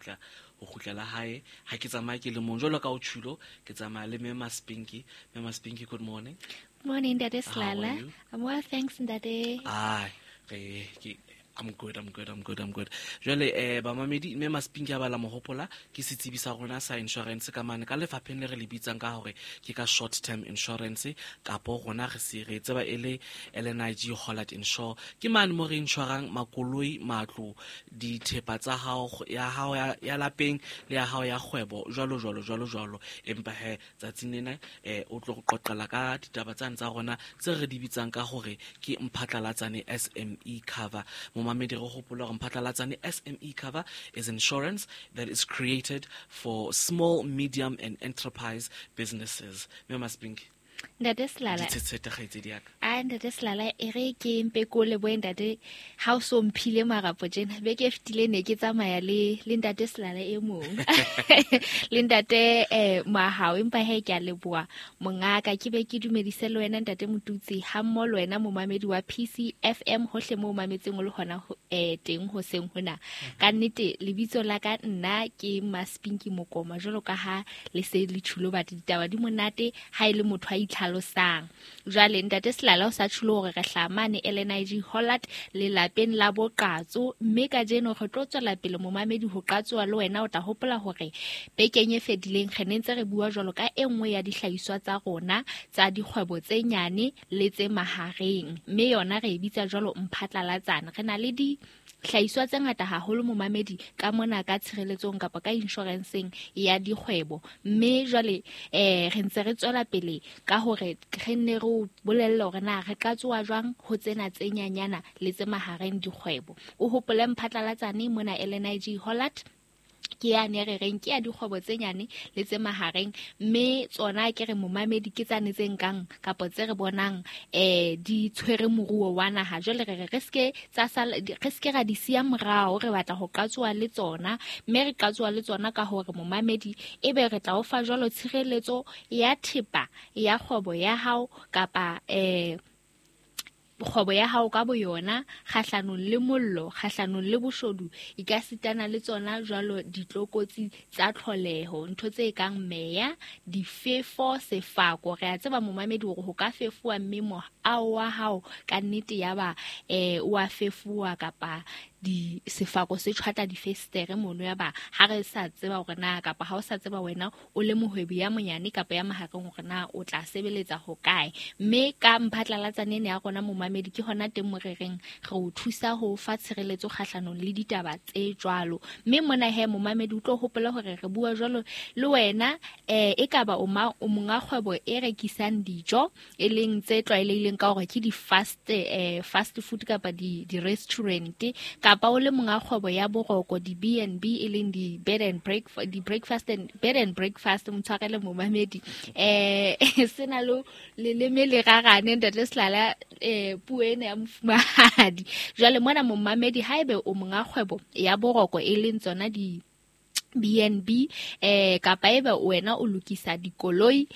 Tla ho kgutlela hae. Ha ke tsamaye ke le mong jwalo ka o tjhulo, ke tsamaya le Mema Spinky. Mema Spinky, good morning. Morning, Ntate How are Selala. you? I'm well, thanks, Ntate. Ai, re ke I'm good, I'm good, I'm good, I'm good. Jwale bamamedi, Mema Spinky a bala mohopola ke setsebi sa rona sa insurance ka mane ka lefapheng le re le bitsang ka hore ke ka short term insurance, kapo rona re se re tseba e le LNIG Hollard Insure. Ke mane mo re insurang makoloi, matlo, dithepa tsa hao, ya hao ya lapeng le ya hao ya kgwebo, jwalo jwalo jwalo jwalo. Empa he tsatsing lena o tlo re qoqela ka ditaba tsane tsa rona tse re di bitsang ka hore ke Mphatlalatsane SME cover. Momamedi, re hopola hore Mphatlalatsane SME cover is insurance that is created for small, medium and enterprise businesses. Mme Maspinki, Ntate Selala. Ditshetshe kgaitsedi ya ka. A Ntate Selala, e re ke mpe ko lebohe ntate, ha o so mphile marapo tjena. Beke e fetileng ne ke tsamaya le Ntate Selala e mong. Le ntate Mahao, empa he ke a leboha mongaka, ke be ke dumedise le wena ntate Motutsi, ha mmoho le wena momamedi wa PCFM hohle moo o mametseng o le hona teng hoseng hona. Ka nnete lebitso la ka nna ke Maspinki Mokoma, jwalo ka ha le se le tjhulo batho ditaba di monate ha e le motho a itlhalosang. Jwale ntate Selala o sa tjhulo hore re hlaha mane LNIG Hollard lelapeng la boqatso, mme kajeno re tlo tswela pele momamedi ho qatsoa le wena. O tla hopola hore bekeng e fetileng re ne ntse re bua jwalo ka e nngwe ya dihlahiswa tsa rona tsa dikgwebo tse nyane le tse mahareng, mme yona re e bitsa jwalo Mphatlalatsane. Re na le dihlahiswa tse ngata haholo momamedi ka mona ka tshireletsong kapa ka insurance-eng ya dikgwebo, mme jwale re ntse re tswela pele ka hore re nne re o bolelle hore na re qatsoa jwang ho tsena tse nyanyana le tse mahareng dikgwebo. O hopole Mphatlalatsane mona LNIG Hollard ke yane re reng ke ya dikgwebo tse nyane le tse mahareng, mme tsona ke re momamedi ke tsane tse nkang kapa tse re bonang di tshwere moruo wa naha. Jwale re re re ske tsa sala, re ske ra di siya morao, re batla ho qatsoa le tsona, mme re qatsoa le tsona ka hore momamedi ebe re tla o fa jwalo tshireletso ya thepa ya kgwebo ya hao kapa kgwebo ya hao ka boyona kgahlanong le mollo, kgahlanong le boshodu, e ka sitana le tsona jwalo ditlokotsi tsa tlholeho, ntho tse kang meya, difefo, sefako. Re a tseba momamedi hore ho ka fefowa mme moaho wa hao ka nnete ya ba o a fefowa kapa di sefako se tjhwatla difestere mono, ya ba ha re sa tseba hore na kapa ha o sa tseba wena o le mohwebi ya monyane kapa ya mahareng hore na o tla sebeletsa hokae. Mme ka Mphatlalatsane ena ya rona momamedi ke hona teng mo re reng re o thusa ho fa tshireletso kgahlanong le ditaba tse jwalo. Mme mona he momamedi o tlo hopola hore re bua jwalo le wena e ka ba o monga kgwebo e rekisang dijo, e leng tse tlwaelehileng ka hore ke di fast food kapa di restaurant, kapa o le monga kgwebo ya boroko, di B and B, e leng di bed and breakfast, di breakfast and bed and breakfast, motshwarele momamedi. Sena lo leleme le rarane ntate Selala, puo ena ya mofumahadi. Jwale mona momamedi haebe o monga kgwebo ya boroko e leng tsona di B and B, kapa ebe wena o lokisa dikoloi,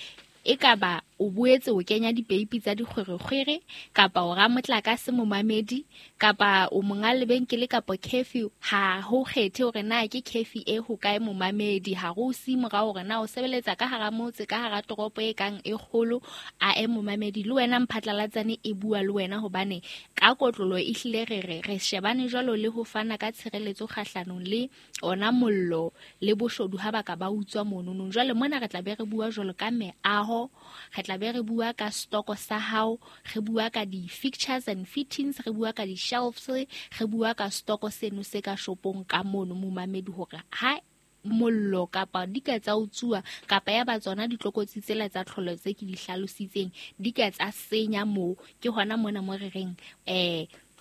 e ka ba o boetse o kenya dipeipi tsa dikgwerekgwere, kapa o ramotlakase momamedi, kapa o monga lebenkele kapa curfew, ha ho kgethe hore na ke curfew e hokae momamedi, ha re o siye morao hore na o sebeletsa ka hara motse, ka hara toropo e kang e kgolo, a e momamedi le wena Mphatlalatsane e bua le wena, hobane ka kotlolo e hlile re re re shebane jwalo le ho fana ka tshireletso kgahlanong le ona mollo le boshodu ha ba ka ba utswa mononong. Jwale mona re tla be re bua jwalo ka meaho, re tla be re bua ka stoko sa hao, re bua ka di-fixtures and fittings, re bua ka di-shelves, re bua ka stoko seno se ka shopong ka mono momamedi, hore ha mollo kapa di ka tsa utsuwa kapa ya ba tsona ditlokotsi tsela tsa tlholo tse ke di hlalositseng di ka tsa senya moo. Ke hona mona mo re reng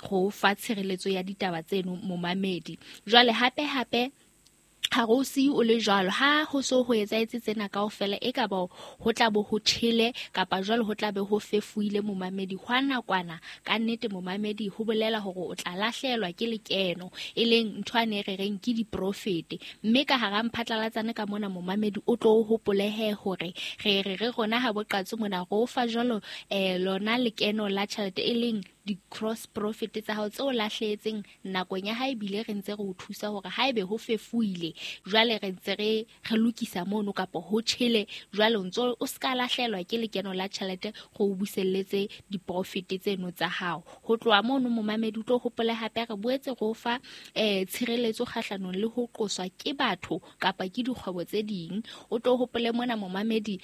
go fa tshireletso ya ditaba tseno momamedi. Jwale hape hape ha re o siye o le jwalo, ha ho so ho etsahetse tsena kaofela, e ka ba ho tla bo ho tjhele kapa jwale ho tla be ho fefoile momamedi hwa nakwana. Ka nnete momamedi ho bolela hore o tla lahlehelwa ke lekeno, e leng ntho ane re reng ke diprofete. Mme ka hara Mphatlalatsane ka mona momamedi o tlo hopolehe hore re re re rona ha boqatso mona re o fa jwalo lona lekeno la tjhelete, e leng di-cross profit tsa hao tseo lahlehetseng nakong ya ha ebile re ntse re o thusa hore haebe ho fefuile jwale re ntse re lokisa mono kapa ho tjhele jwale o ntso o ska lahlelwa ke lekeno la tjhelete go o buselletse di-profit tseno tsa hao. Ho tloha mono momamedi o tlo hopole hape re boetse go fa tshireletso kgahlanong le ho qoswa ke batho kapa ke dikgwebo tse ding. O tlo hopole mona momamedi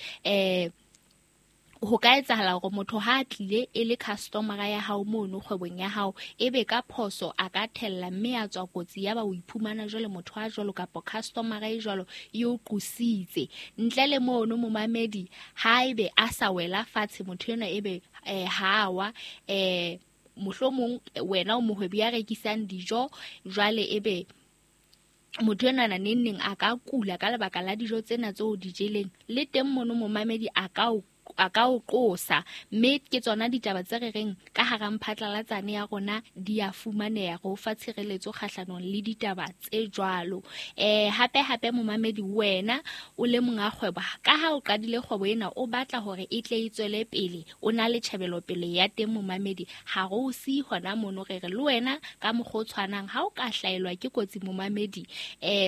ho ka etsahala hore motho ha a tlile e le customer ya hao mono kgwebong ya hao ebe ka phoso a ka thella mme a tswa kotsi ya ba o iphumana jwale motho a jwalo kapa customer e jwalo e o qositse. Ntle le mono momamedi ha ebe a sa wela fatshe motho enwa ebe ha wa mohlomong wena o mohwebi ya rekisang dijo jwale ebe motho enwa neng neng a ka kula ka lebaka la dijo tsena tseo di jeleng le teng mono momamedi a ka o qosa. Mme ke tsona ditaba tse re reng ka hara mphatlalatsane ya rona di a fumaneha go fa tshireletso kgahlanong le ditaba tse jwalo. Hape hape momamedi wena o le monga kgwebo ka ha o qadile kgwebo ena o batla hore e tle e tswele pele o na le tjhebelopele ya teng momamedi ha re o siye hona mono re re le wena ka mokgwa o tshwanang ha o ka hlaelwa ke kotsi momamedi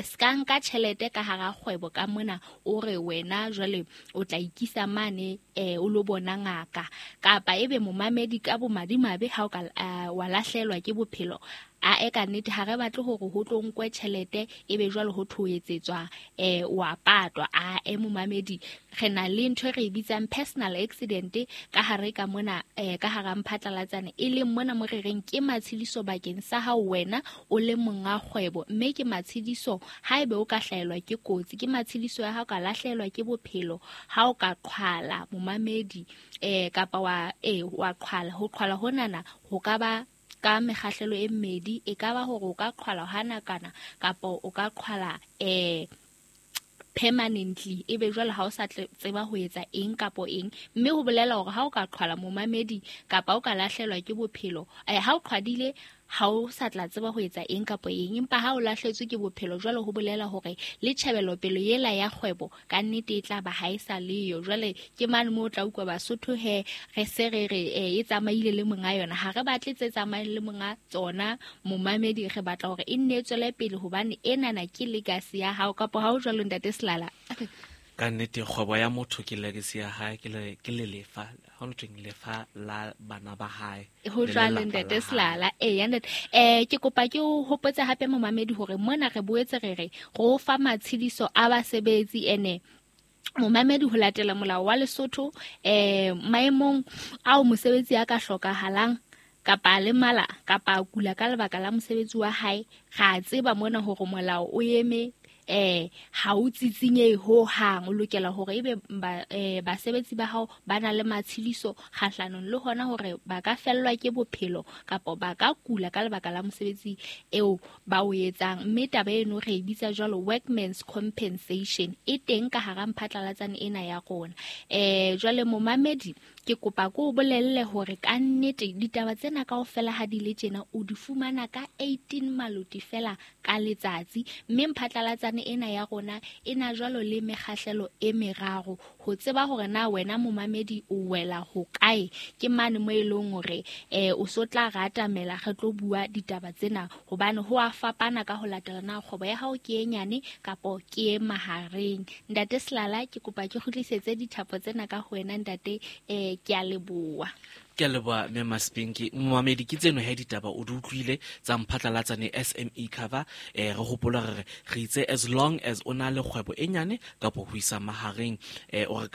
ska nka tjhelete ka hara kgwebo ka mona o re wena jwale o tla ikisa mane o lo bona ngaka kapa ebe momamedi ka bomadimabe ha o ka wa lahlelwa ke bophelo a e ka nnete ha re batle hore ho tlo nkwe tjhelete ebe jwale ho thoetsetswa wa patwa. A e momamedi re na le ntho e re bitsang personal accident ka hare ka mona ka hara mphatlalatsane e leng mona mo re reng ke matshediso bakeng sa hao wena o le monga kgwebo mme ke matshediso haebe o ka hlaelwa ke kotsi ke matshediso ya hao ka lahlelwa ke bophelo ha o ka qhwala momamedi kapa wa qhwala ho qhwala honana ho ka ba ka mekgahlelo e mmedi e ka ba hore o ka qhwala hana kana kapa o ka qhwala permanently ebe jwale ha o sa tseba ho etsa eng kapa eng mme ho bolela hore ha o ka qhwala momamedi kapa o ka lahlelwa ke bophelo ha o qhwadile ha o sa tla tseba ho etsa eng kapa eng empa ha o lahletswe ke bophelo jwale ho bolela hore le tjhebelopele yela ya kgwebo ka nnete e tla ba ha e sa leyo. Jwale ke mane moo o tla utlwa Basotho he re se re re e tsamaile le monga yona ha re batle tse tsamayang le monga tsona momamedi re batla hore e nne e tswele pele hobane enana ke legacy ya hao kapa ha o jwalo ntate Selala. Ka nnete kgwebo ya motho ke legacy ya hae ke lelefa ha o thweng lefa la bana ba hae ho jwalo ntate Selala. Ntate ke kopa ke o hopotse hape momamedi hore mona re boetse re re go fa matshediso a basebetsi ene momamedi ho latela molao wa Lesotho maemong ao mosebetsi a ka hlokahalang kapa le mala kapa a kula ka lebaka la mosebetsi wa hae ra tseba mona hore molao o eme ha o tsitsinye ho hang o lokela hore ebe basebetsi ba hao ba na le matshediso kgahlanong le hona hore ba ka fellwa ke bophelo kapa ba ka kula ka lebaka la mosebetsi eo ba o etsang. Mme taba eno re e bitsa jwalo workman's compensation e teng ka hara mphatlalatsane ena ya rona. Jwale momamedi ke kopa ko o bolelle hore ka nnete ditaba tsena kaofela ha di le tjena o di fumana ka 18 maloti fela ka letsatsi mme mphatlalatsane ena ya rona e na jwalo le mekgahlelo e meraro ho tseba hore na wena momamedi o wela ho kae ke mane mo e leng hore o so tla ratamela re tlo bua ditaba tsena hobane ho a fapana ka ho latela na kgwebo ya hao ke e nyane kapo ke e mahareng. Ntate Selala ke kopa ke kgutlisetse dithapo tsena ka ho wena ntate ke a leboha. Ke a leboha mme Maspinki. Momamedi ke tseno he ditaba o di utlwile tsa mphatlalatsane SME cover. Re hopola re re itse as long as o na le kgwebo e nyane kapa ho isa mahareng o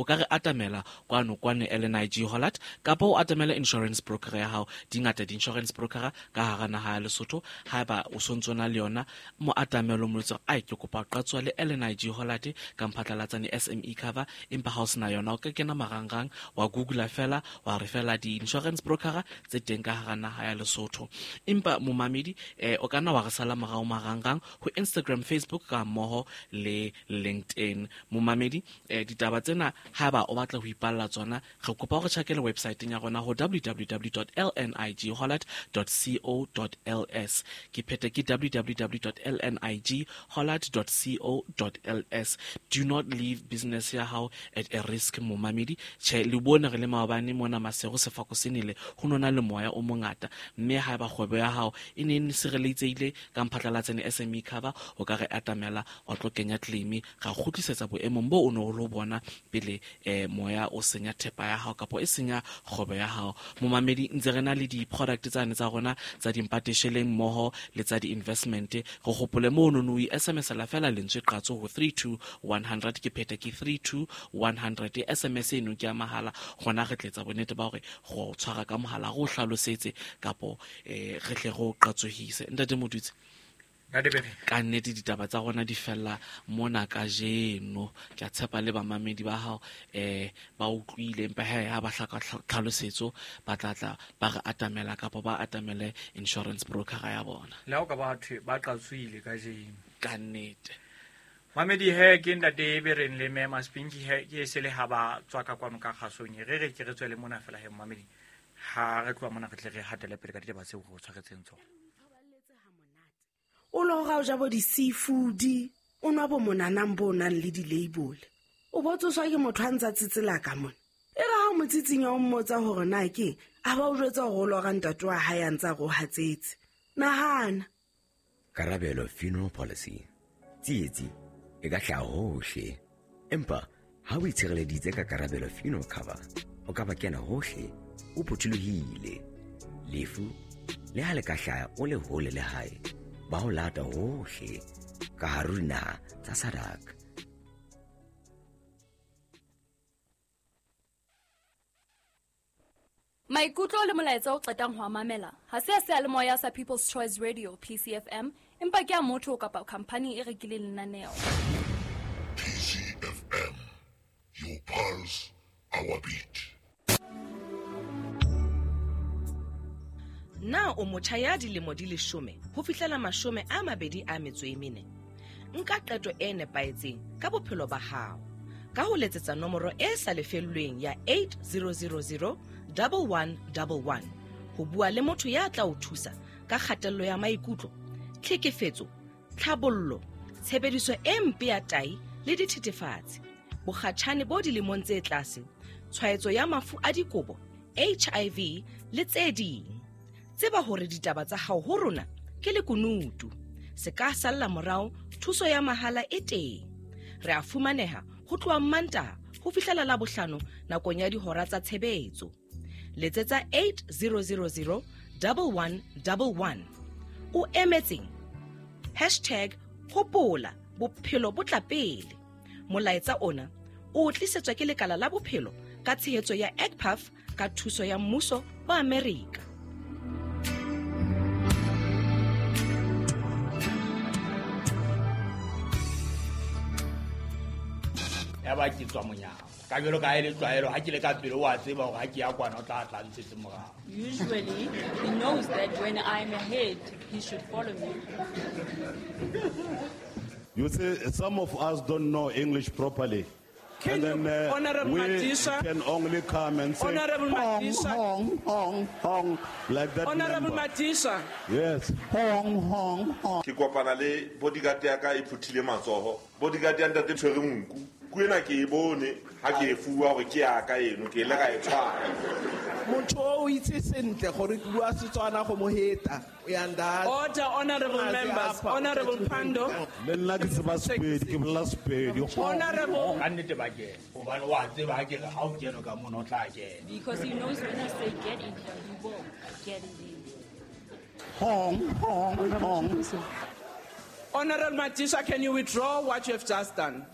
ka re atamela kwano kwane LNIG Hollard kapa o atamela insurance broker ya hao. Di ngata di-insurance broker ka hara naha ya Lesotho. Haeba o sontso na le yona mo atamelo mo jwetse ai ke kopa qatswa le LNIG Hollard ka mphatlalatsane SME cover empa ha o sena yona o ka kena marangrang wa Google fela wa re fela di-insurance broker tse teng ka hara naha ya Lesotho. Empa momamedi o ka nna wa re sala morao marangrang ho Instagram, Facebook ka mmoho le LinkedIn. Momamedi ditaba tsena haeba o batla ho ipalla tsona re kopa hore tjhakele website-eng ya rona ho www.lnighollard.co.ls. Ke phete ke www.lnighollard.co.ls. Do not leave business ya hao at a risk momamedi. Tjhe le bone re le maobane mona Maseru bosigo sefako se nele go nona le moya o mongata, mme ha eba kgwebo ya hao e ne e sireletsehile ka mphatlalatsane SME cover, o ka re atamela wa tlo kenya claim ga kgutlisetsa boemong bo o ne o lo bona pele moya o senya thepa ya hao kapo e senya kgwebo ya hao. Momamedi, ntse re na le di-product tsane tsa rona tsa dimpatesheleng mmoho le tsa di-investment. Re gopole mo no no SMS la fela lentswe qatso ho 32100, ke pheta ke 32100. SMS eno ke ya mahala, gona re tletsa bonnete ba hore go tshwara ka mohala go hlalosetse kapo re tle go qatsohise. Ntate Modutse, ka nnete ditaba tsa rona di fella mona kajeno. Ke a tshepa le bamamedi ba hao ba utlwile, empa ha ba hlaka tlhalosetso ba tla ba re atamela kapa ba atamele insurance broker ya bona. Le ha o ka ba thwe ba qatsohile kajeno ka nnete. Mamedi he ke ntate be reng le mme Maspinki he ke se le ha ba tswa ka kwano ka kgasong re re ke re tswele mona fela he mamedi ha re tloha mona re tle re hatele pele ka ditaba tseo re tshwaretseng tsona. O lo ga o ja bo di-seafood, o nwa bo monanang bo nang le di-label, o bo tsoswa ke motho a ntsa tsetsela ka mona. E re ha o mo tsitsinya o mmotsa hore na ke a ba o jwetsa hore o lora ntate wa hae a ntsa go hatsetse. Nahana. Karabelo funeral policy. Tsietsi e ka hlaha hohle, empa ha o itshireleditse ka Karabelo funeral cover, o ka ba kena hohle o phuthulohile. Lefu le ha le ka hlaha o le hole le hae, ba ho lata hohle ka hare ho dinaha tsa SADC. Maikutlo le molaetsa o qetang ho mamela ha se a seyalemoya sa People's Choice Radio PCFM, empa ke a motho kapa company e rekileng lenaneo. PCFM, your pulse, our beat. Na o motjha ya dilemo di 10 ho fihlela 24? Nka qeto e nepahetseng ka bophelo ba hao ka ho letsetsa nomoro e sa lefellweng ya 8000 1111 ho bua le motho ya tla o thusa ka kgatello ya maikutlo, tlhekefetso, tlhabollo, tshebediso e mpe ya tai le dithethefatsi, bokgatjhane bo dilemong tse tlase, tshwaetso ya mafu a dikobo, HIV le tse ding. Tseba hore ditaba tsa hao ho rona ke lekunutu. Se ka salla morao, thuso ya mahala e teng. Re a fumaneha ho tloha Mantaha ho fihlela Labohlano nakong ya dihora tsa tshebetso. Letsetsa 8000 1111. O emetseng? #hopola bophelo bo tla pele. Molaetsa ona o tlisetswa ke lekala la bophelo ka tshehetso ya ECPAF ka thuso ya mmuso wa Amerika. Ya ba ke tswa monyako ka jwalo ka e le tlwaelo ha ke le ka pele wa tseba hore ha ke ya kwana o tla tla ntshetse morao. Usually he knows that when I'm ahead he should follow me. You see, some of us don't know English properly. Can and then Honorable we Madisha, can only come and say Honorable hong, Madisha, hong, hong, hong, like that. Honorable number. Madisha. Yes. Hong, hong, hong. Ke kopana le bodyguard ya ka e phuthile matsoho. Bodyguard ya ntate tshwere nku. Kuena ke e bone ha ke e fuwa hore ke ya ka eno ke ile ka e tshwara. Motho o itse sentle gore ke bua Setswana go mo heta. Order, honorable members. Honorable Pando. Le nna ke tseba Sepedi, ke bolela Sepedi. Honorable. Ka nnete ba kena. Hobane wa tseba ha ke re ha o kene ka mona o tla kena. Because he knows when I say get in here, he will get in here. Hong, hong, hong. Honorable Madisha, can you withdraw what you have just done?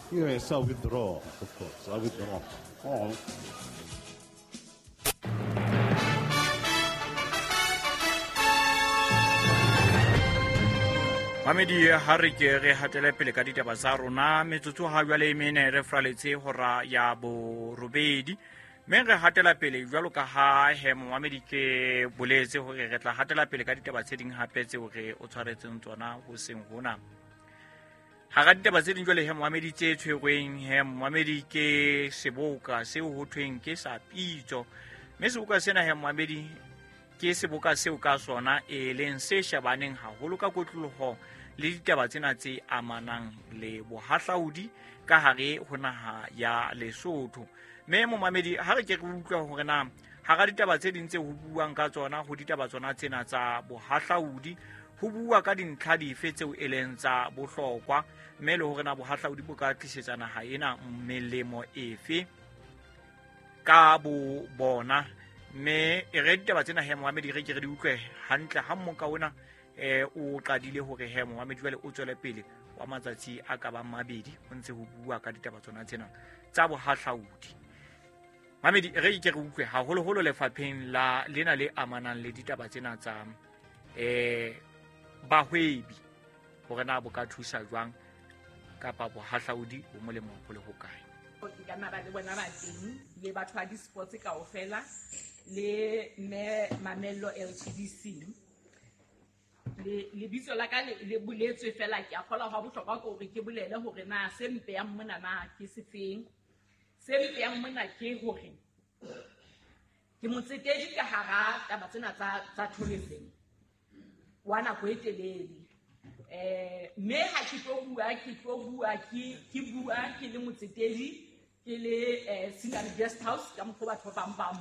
Yes, I withdraw, of course. I withdraw. Hong. Mamedi ha re ke re hatele pele ka ditaba tsa rona metsotso ha jwale e mene re fraletse hora ya borobedi, mme re hatela pele jwalo ka ha he momamedi ke boletse hore re tla hatela pele ka ditaba tse ding hape tseo re o tshwaretseng tsona hoseng hona. Hara ditaba tse ding jwale he momamedi tse tshwerweng he momamedi ke seboka seo ho thweng ke sa pitso, mme seboka sena he momamedi ke seboka seo ka sona e leng se shebaneng haholo ka kotloloho le ditaba tsena tse amanang le bohahlaudi ka hare ho naha ya Lesotho. Mme momamedi, ha re ke re utlwa hore na hara ditaba tse ding tse ho buang ka tsona, ho ditaba tsona tsena tsa bohahlaudi, ho bua ka dintlha dife tseo e leng tsa bohlokwa, mme le hore na bohahlaudi bo ka tlisetsa naha ena melemo efe ka bo bona. Mme e re ditaba tsena he momamedi, re ke re di utlwe hantle ha mmoka ona o qadile hore he momamedi jwale o tswele pele wa matsatsi a ka bang mabedi o ntse ho bua ka ditaba tsona tsena tsa bohahlaudi. Mamedi, re ke re utlwe haholoholo lefapheng la lena le amanang le ditaba tsena tsa bahwebi, hore na bo ka thusa jwang kapa bohahlaudi bo molemo ho le hokae. Ke ka nna ba le bona ba teng le batho ba di-sports kaofela le mme Mamello LTDC. Lebitso la ka le boletswe fela, ke a kgolwa hwa bohlokwa ke hore ke bolele hore na se mpeyang mona na ke sefeng. Se mpeyang mona ke hore ke motsetedi ka hara taba tsena tsa tourism wa nako e telele. Mme ha ke tlo bua, ke bua ke le motsetedi, ke le Scenery Guest House ka mokgwa batho ba bang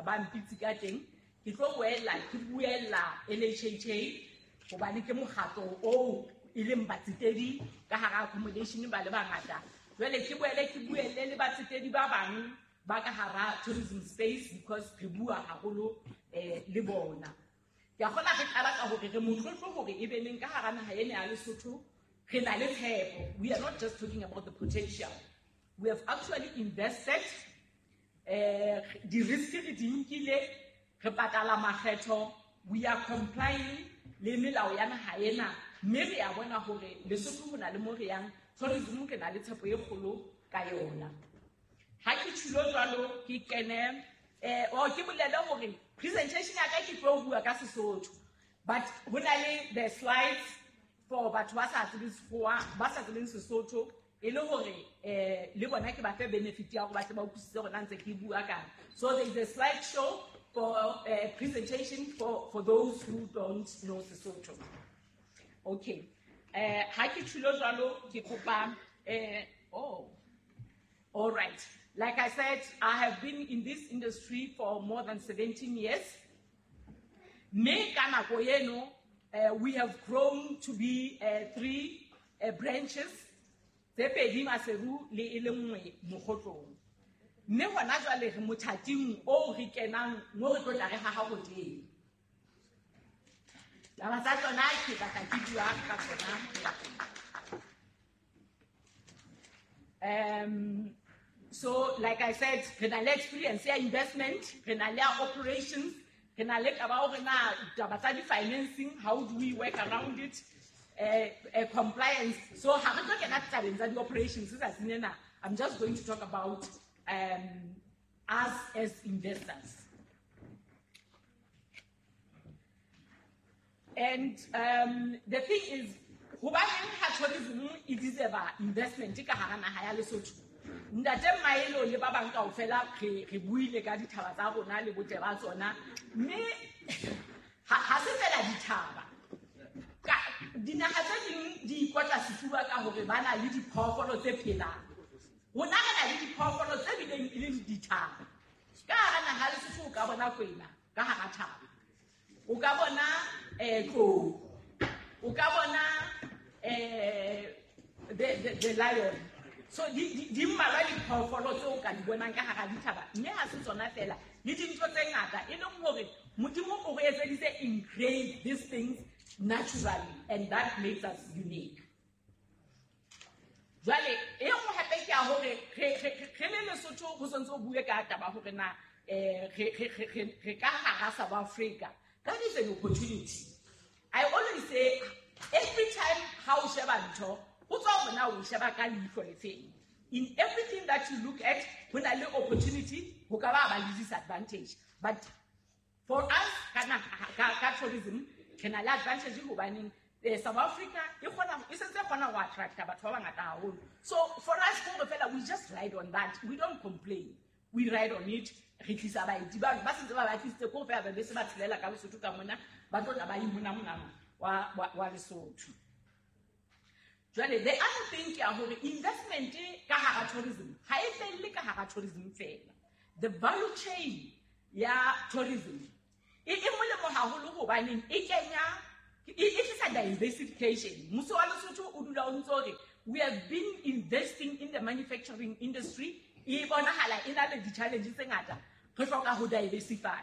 ba mpitse ka teng. Ke tlo boela ke buella LHHA hobane ke mokgatlo oo e leng batsetedi ka hara accommodation ba le bangata. Jwale ke boele ke buelle le batsetedi ba bang ba ka hara tourism space because re bua haholo le bona. Ke a kgona re qala ka hore re motlotlo hore e be neng ka hara naha ena ya Lesotho re na le tshepo. We are not just talking about the potential. We have actually invested, di-risk re di nkile, re patala makgetho, we are complying le melao ya naha ena, mme re a bona hore Lesotho ho na le mo re yang, tourism re na le tshepo e kgolo ka yona. Ha ke tjhulo jwalo ke kene, ke bolele hore presentation ya ka ke tlo bua ka Sesotho, but ho na le the slides for batho ba sa tsebeng Sekgowa, ba sa tsebeng Sesotho, e le hore le bona ke ba fe benefit ya hore ba tle ba utlwisise hore na ntse ke bua kang. So there is a slide show for presentation for those who don't know Sesotho. Okay. Ha ke tjhulo jwalo ke kopa all right. Like I said, I have been in this industry for more than 17 years. Me ka nako eno, we have grown to be 3 branches, tse pedi Maseru le e le nngwe Mokgotlong. Mme hona jwale re mothating oo re kenang mo re tlo tla re haha hotele. Taba tsa tsona ke batla ke bua ka tsona. So like I said, re na le experience ya investment, re na le operations, re na le taba hore na taba tsa di-financing, how do we work around it, compliance. So ha re tlo kena tabeng tsa di-operations tsatsing lena, I'm just going to talk about us as investors. And the thing is, hobaneng ha tourism e deserve investment ka hara naha ya Lesotho? Ntate Maelo le ba bang kaofela re buile ka dithaba tsa rona le botle ba tsona, mme ha se fela dithaba. Dinaha tse ding di ikotla sefuba ka hore ba na le diphoofolo tse phelang. Rona re na le diphoofolo tse bileng e leng dithaba. Ka hara naha ya Lesotho o ka bona kwena ka hara thaba, o ka bona tlou, o ka bona the lion. So di mmalwa diphoofolo tseo o ka di bonang ka hara dithaba, mme ha se tsona fela, le dintho tse ngata e leng hore Modimo o re etseditse engrave these things naturally, and that makes us unique. Jwale e nngwe hape ke ya hore re le Lesotho ho sontse o bue ka taba hore na re ka hara South Africa. That is an opportunity. I always say every time ha o sheba ntho, ho tswa hore na o sheba ka leihlo le feng. In everything that you look at, ho na le opportunity, ho ka ba le disadvantage. But for us, ka tourism, re na le advantage hobaneng South Africa e sentse kgona ho attracta batho ba bangata haholo. So for us hore fela we just ride on that. We don't complain. We ride on it. Re tlisa baeti ba sentse ba tlisitse ko fela ba bese ba tshelela ka Lesotho ka mona, ba tlo tla ba imonamona wa Lesotho. Jwale the other thing ke ya hore investment ka hara tourism ha e felle ka hara tourism fela. The value chain ya tourism e molemo haholo hobaneng e kenya e tlisa diversification. Mmuso wa Lesotho o dula o ntso hore we have been investing in the manufacturing industry, e bonahala e na le di-challenge tse ngata, re hloka ho diversify.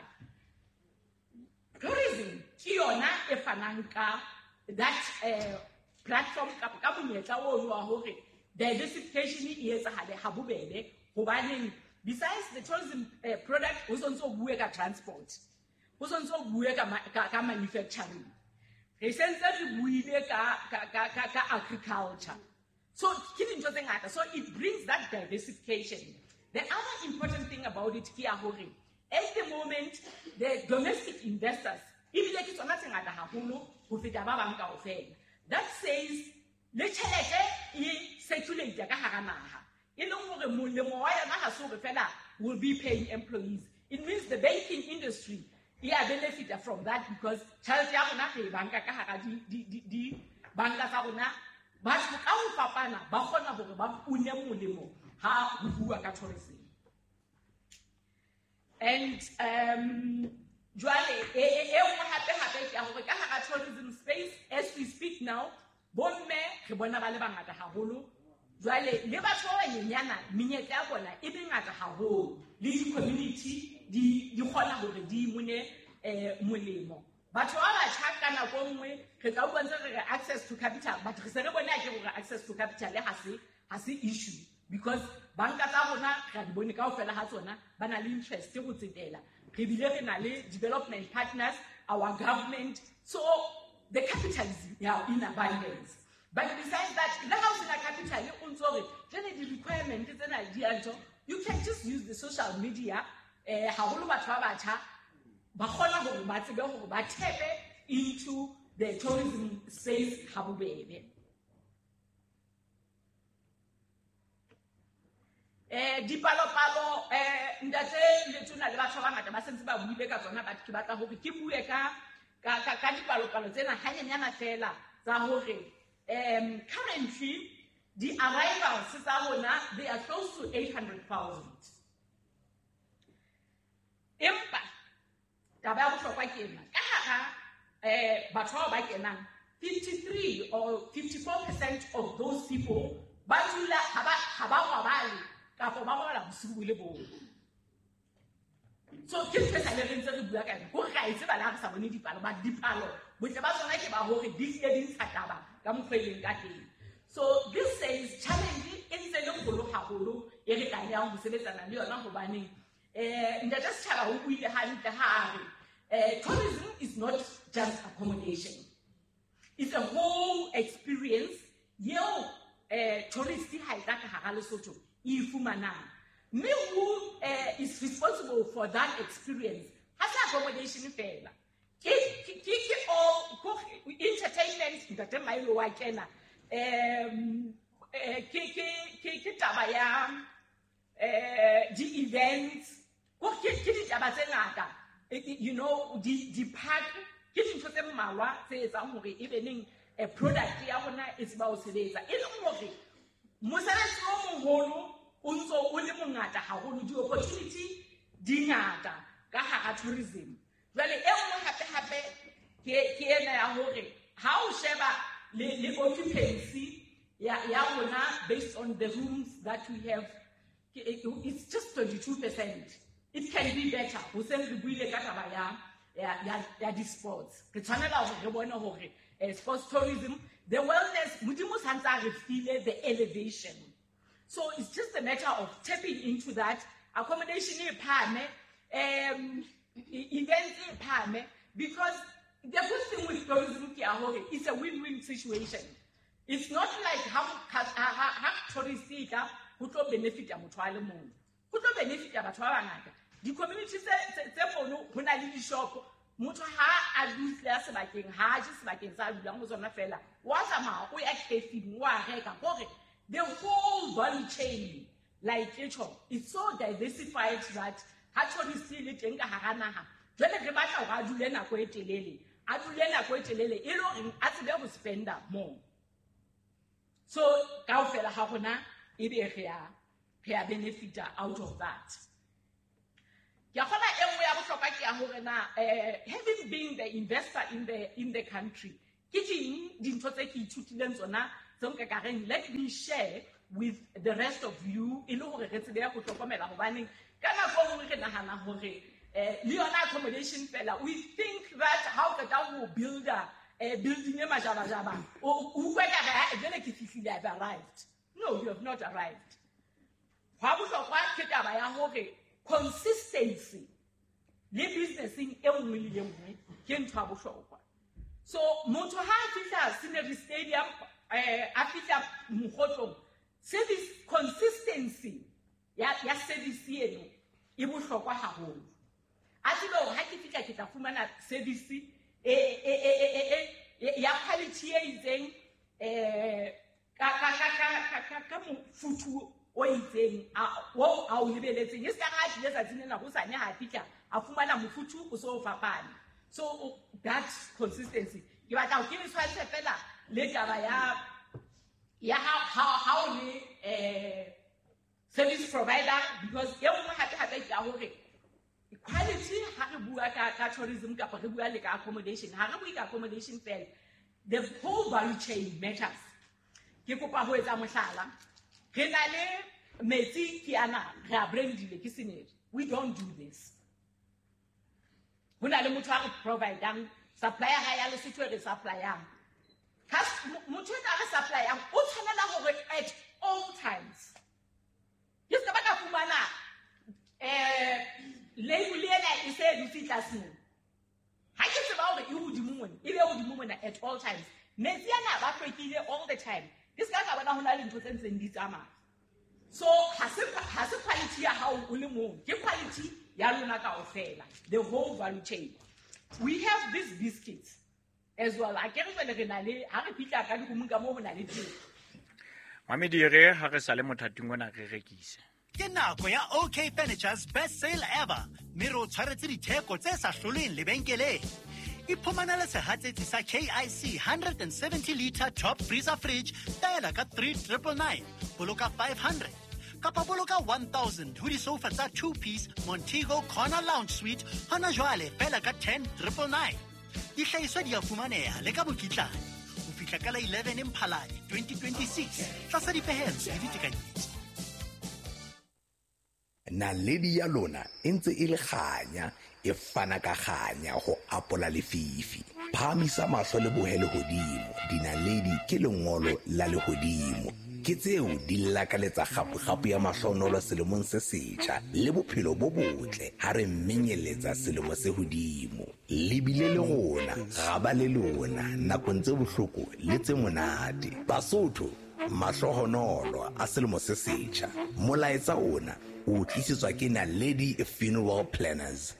Tourism ke yona e fanang ka that platform kapa ka monyetla ono wa hore diversification e etsahale ha bobebe, hobaneng besides the tourism product ho sontso o bue ka transport, ho sontso o bue ka manufacturing, re sentse re buile ka agriculture. So ke dintho tse ngata, so it brings that diversification. The other important thing about it ke ya hore at the moment the domestic investors ebile ke tsona tse ngata haholo ho feta ba bang kaofela. That says le tjhelete e circulate ka hara naha, e leng hore molemo wa yona ha se hore fela will be paying employees. It means the banking industry e a benefit from that, because tjhelete ya rona re e banka ka hara di banka tsa rona. Batho ka ho fapana ba kgona hore ba une molemo ha ho bua ka tourism. And jwale e nngwe hape ke ya hore ka hara tourism space as we speak now, bomme re bona ba le bangata haholo. Jwale le batho ba banyenyana menyetla ya bona e mengata haholo, le di-community di kgona hore di imone molemo. Batho ba batjha ka nako e nngwe re tla utlwa ntse re re access to capital, but re se re bone ke hore access to capital ha se issue, because banka tsa rona re a di bone kaofela ha tsona ba na le interest ho tsetela. Re bile re na le development partners, our government, so the capital is in abundance. But besides that, le ha o sena capital o ntso re jwale di-requirement tsena di a ntho, you can just use the social media. Haholo batho ba batjha ba kgona hore ba tsebe hore ba tape into the tourism space ha bobebe. Dipalopalo ntate Letona le batho ba bangata ba sentse ba buile ka tsona, but ke batla hore ke bue ka dipalopalo tsena hanyenyana fela tsa hore currently the arrivals tsa rona they are close to 800,000. Empa taba ya bohlokwa ke ena, ka hara batho bao ba kenang 53 or 54% of those people ba dula ha ba robale kapa ba robala bosiu bo le bong. So ke ntho e sale re ntse re bua ka yona, hore re a e tseba le ha re sa bone dipalo, but dipalo botle ba tsona ke ba hore di hlile di ntsha taba ka mokgwa e leng ka teng. So this says challenge e ntse le kgolo haholo e re tlamehang ho sebetsana le yona, hobaneng ntate setjhaba o buile hantle ha a re tourism is not just accommodation, it's a whole experience yeo tourist ha e tla ka hara Lesotho e fumanang. Mme who is responsible for that experience ha se accommodation fela, ke all entertainment. Ntate Mailo wa kena ke taba ya di-events, ke ditaba tse ngata, you know, di-park, ke dintho tse mmalwa tse etsang hore e be neng product ya rona e tseba ho sebetsa, e leng hore mosebetsi o moholo o ntso o le mongata haholo, di-opportunity di ngata ka hara tourism. Jwale e nngwe hape ke ena ya hore ha o sheba le occupancy ya rona based on the rooms that we have, it's just 22%. It can be better. Ho seng re buile ka taba ya di-sports, re tshwanela hore re bone hore sports tourism, the wellness, Modimo santse a re file the elevation. So it's just a matter of tapping into that. Accommodation e phahame, events e phahame, because the good thing with tourism ke ya hore it's a win-win situation. It's not like ha tourist e tla ho tlo benefita motho a le mong, ho tlo benefita batho ba bangata. Di-community tse mono ho na le di-shop, motho ha a dutse a sebakeng, ha a je sebakeng sa a dulang ho tsona fela, wa tsamaya o ya cafe-ing, wa reka, hore the whole value chain like etjho it's so diversified that ha tourist e le teng ka hara naha, jwale re batla hore a dule nako e telele, e le horeng a tsebe ho spenda more. So kaofela ha rona ebe re a benefita out of that. Ke a kgona e nngwe ya bohlokwa ke ya hore na having been the investor in the country, ke ding dintho tse ke ithutileng tsona tse nka ka reng let me share with the rest of you e le hore re tsebe ho hlokomela, hobaneng ka nako e nngwe re nahana hore le yona accommodation fela, we think that ha o qeta ho builder building e majabajaba o utlwe ka re ha jwale ke fihlile, I've arrived. No, you have not arrived. Hwa bohlokwa ke taba ya hore consistency le businesseng e nngwe le e nngwe ke ntho ya bohlokwa. So motho ha a fihla Scenery Stadium, a fihla Mokgotlong, service consistency ya service eno e bohlokwa haholo. A tsebe hore ha ke fihla ke tla fumana service ya quality e itseng, ka mofuthu o itseng o a o lebeletseng. E se ka ha tlile tsatsing lena hosane ha fihla a fumana mofuthu o so o fapane. So that consistency ke batla ho ke le tshwantshe fela le taba ya ha o le service provider, because e nngwe hape ke ya hore quality ha re bua ka tourism kapa re bua le ka accommodation, ha re bue ka accommodation fela, the whole value chain matters. Ke kopa ho etsa mohlala, re na le metsi ke ana re a brandile ke Scenery. We don't do this. Ho na le motho a re providang supplier ha ya Lesotho e re supplyang. Motho a re supplyang o tshwanela hore at all times ke se ba ka fumana label ena e se dutse tlase mona. Ha ke tseba hore e hodimo mona, e be hodimo mona at all times. Metsi ana ba hlwekile all the time. Ke se ka bona ho na le ntho tse ntseng di tsamaya. So ha se quality ya hao o le mong, ke quality ya lona kaofela, the whole value chain. We have these biscuits as well. A ke re jwale re na le ha re fihla ka dikomong ka moo ho na le teng. Mamedire ha re sale mothating ona re rekise. Ke nako ya OK Furniture's best sale ever, mme re o tshwaretse ditheko tse sa hloleng lebenkeleng. Iphumanele sehatsetsi sa KIC 170 liter top freezer fridge taela ka 3999, boloka 500 kapa boloka 1000 ho disofa tsa 2-piece Montego Corner Lounge Suite hona jwale fela ka 10999. Dihlahiswa di a fumaneha le ka mokitlane ho fihla ka la 11 Mphalane 2026 tlasa dipehelo le ditekanyetso. Naledi ya lona e ntse e le kganya, e fana ka kganya ho apola lefifi. Phahamisa mahlo le bohe lehodimo, dinaledi ke lengolo la lehodimo. Ke tseo di lakaletsa kgapo-kgapo ya mahlonolo selemong se setjha le bophelo bo botle ha re menyeletsa selemo se hodimo. Le bile le rona, ra ba le lona nakong tse bohloko le tse monate. Basotho, mahlohonolo a selemo se setjha. Molaetsa ona o tlisetswa ke Naledi Funeral Planners.